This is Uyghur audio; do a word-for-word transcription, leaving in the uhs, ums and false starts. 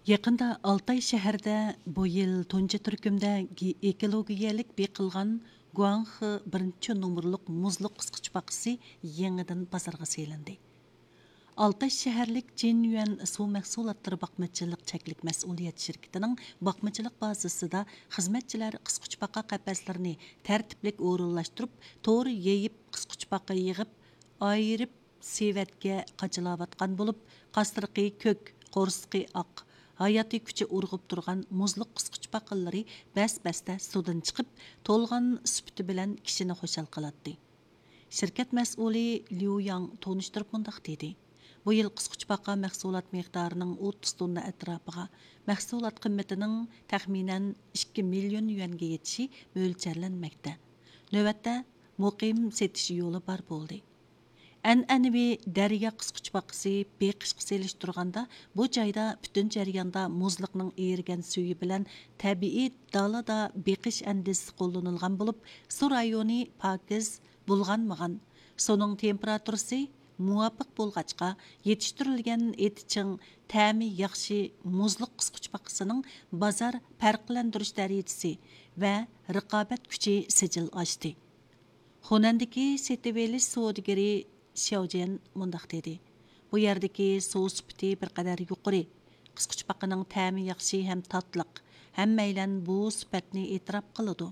يېقىندا ئالتاي شەھىرىدە بۇ يىل تۇنجى تۈركۈمدە گې-، ئېكولوگىيەلىك بېقىلغان گۇاڭخې بىرىنچى نومۇرلۇق مۇزلۇق قىسقۇچپاقىسى يېڭىدىن بازارغا سېلىندى. ئالتاي شەھەرلىك جىنيۈەن سۇ مەھسۇلاتلىرى باقمىچىلىق چەكلىك مەسئۇلىيەت شىركىتىنىڭ باقمىچىلىق بازىسىدا خىزمەتچىلەر قىسقۇچپاقا قەپەسلىرىنى تەرتىپلىك ئورۇنلاشتۇرۇپ، تور يېيىپ، قىسقۇچپاقا يىغىپ، ئايرىپ، سېۋەتكە قاچىلاۋاتقان بولۇپ، قاسرىقى كۆك، قورسىقى ئاق، ھاياتىي كۈچى ئۇرغۇپ تۇرغان مۇزلۇق قىسقۇچپاقىلىرى بەس-بەستە سۇدىن چىقىپ، تولغان سۈپىتى بىلەن كىشىنى خۇشال قىلاتتى. شىركەت مەسئۇلى ليۇ ياڭ تونۇشتۇرۇپ مۇنداق دېدى: بۇ يىل قىسقۇچپاقا مەھسۇلات مىقدارىنىڭ ئوتتۇز توننا ئەتراپىغا، مەھسۇلات قىممىتىنىڭ تەخمىنەن ئىككى مىليون يۈەنگە يېتىشى مۆلچەرلەنمەكتە. نۆۋەتتە مۇقىم سېتىش يولى بار بولدى. ئەنئەنىۋى دەريا قىسقۇچپاقىسى بېقىشقا سېلىشتۇرغاندا، بۇ جايدا پۈتۈن جەرياندا مۇزلۇقنىڭ ئېرىگەن سۈيى بىلەن تەبىئىي دالادا بېقىش ئەندىزىسى قوللىنىلغان بولۇپ، سۇ رايونى پاكىز، بۇلغانمىغان، سۇنىڭ تېمپېراتۇرىسى مۇۋاپىق بولغاچقا، يېتىشتۈرۈلگەن ئېتى چىڭ، تەمى ياخشى مۇزلۇق قىسقۇچپاقىسىنىڭ بازار پەرقلەندۈرۈش دەرىجىسى ۋە رىقابەت كۈچى سىجىل ئاشتى. خۇنەندىكى سېتىۋېلىش سودىگىرى شياۋجيەن مۇنداق دېدى: بۇ يەردىكى سۇ سۈپىتى بىر قەدەر يۇقىرى. قىسقۇچپاقىنىڭ تەمى ياخشى ھەم تاتلىق. ھەممەيلەن بۇ سۈپەتنى ئېتىراپ قىلىدۇ.